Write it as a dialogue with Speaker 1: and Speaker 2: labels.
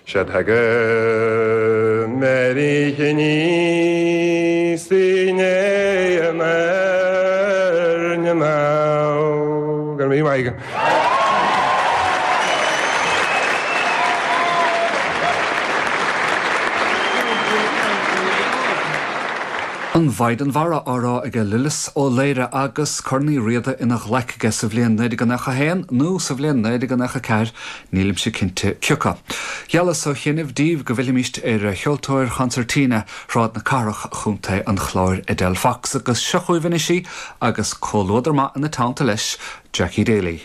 Speaker 1: Sea tagaim ar oíche aníos i ndiaidh an airne mall. Go raibh míle maith agat.
Speaker 2: An Mhaighdean Mhara á rá aige Lillis Ó Laoire agus Corn Uí Riada ina ghlaic aige sa bhliain 1991 nó sa bhliain 1994, nílimse cinnte cioca. Gheallas ó chianaibh daoibh go bhfillfimíst ar cheoltóir chonsairtíne Shráid na Cathrach, Chontae an Chláir, Edel Fox, agus seo chugaibh anois í agus comhluadar maith ina teannta leis, Jackie Daly.